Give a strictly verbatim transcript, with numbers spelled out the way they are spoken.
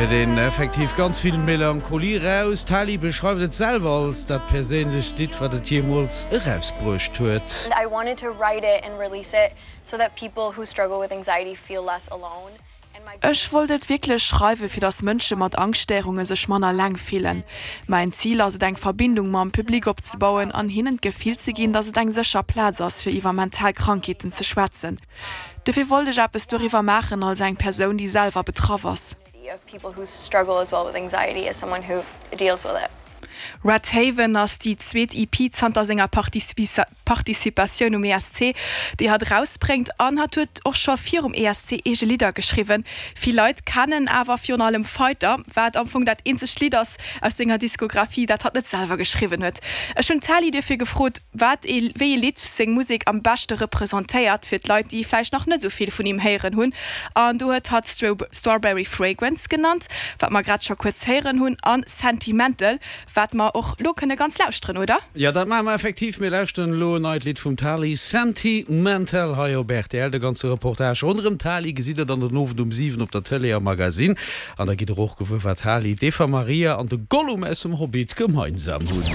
héiert een effektiv ganz vill Melancholie raus. D'Tali beschreift et selwer als dat perséinlechst Lidd, wat et jeemools erausbruecht huet. I wanted to write it and release it so that people who struggle with anxiety feel less alone. And my Ech wollt et wierklech schreiwe fir dass Mënsche mat Angschtstéierunge sech manner eleng fillen. Mäin Zil ass et eng Verbindung mam Public opzebauen an hinnen d'Gefill ze ginn, dass et eng sécher Plaz ass fir iwwer mental Krankheeten ze schwätzen. Dofir wollt ech eppes doriwwer maachen als eng Persoun, déi selwer betraff ass. of people who struggle as well with anxiety as someone who deals with it. Red Haven ass déi zweet E P zanter senger Participatioun um E S C, déi hatt rausbréngt an hatt huet och scho virum E S C eege Lidder geschriwwen. Vill Leit kennen awer virun allem Fighter, wat am Fong dat eenzegt Lidd ass aus senger Diskografie, dat hatt net selwer geschriwwen huet. Ech hunn d'Tali dofir gefrot, wat ee, wéi ee Lidd seng Musek am beschte representéiert fir d'Leit, déi vläicht nach net sou vill vun him héieren hunn. An do huet hatt Strawberry Fragrance genannt, wat mer grad scho kuerz héieren hunn an Sentimental, wat mer och lo kënne ganz lauschteren, oder? Ja dat maache mer effektiv mir lauschteren lo en neit Lidd vum Tali Sentimental hei op R T L de ganze Reportage ronderëm d'Tali gesitt der dann den Owend um siwen op der Tëlee am Magazine an da gitt der och gewuer wat d'Tali d'Eva Maria an de Gollum aus dem Hobbit gemeinsam hunn.